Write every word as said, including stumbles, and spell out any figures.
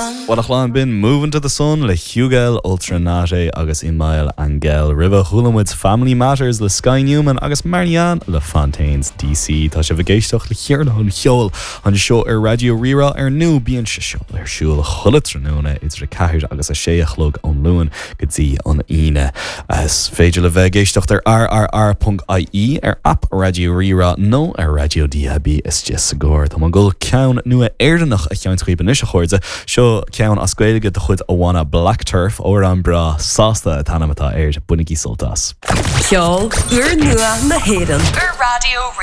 sun. Well a chlann b'in Moving to the Sun le Hugel Ultra Naté agus Email Angel Roimhe chuala muid Family Matters le Sky Newman agus Marianne le Fontaines DC Tá sibh ag éisteacht le Ceardlann an Cheoil anseo ar Raidió Rí-Rá ar ndóigh bíonn sé seo ar siúl chuile tráthnóna idir a ceathair agus a sé a chlog ón Luan go dtí an Aoine. Is féidir le bheith ag éisteacht ar rrr.ie ar app Raidió Rí-Rá nó ar Raidió DAB istigh sa gcarr Tá mé ag dul ceann nua Éireannach a sheinnt daoibh anois a chairde seo ceann as Gaeilge de chuid an bhanna Black Turf amhrán breá sásta an t-ainm atá air bainigí sult as. Ceol úrnua na hÉireann Ar Raidió Rí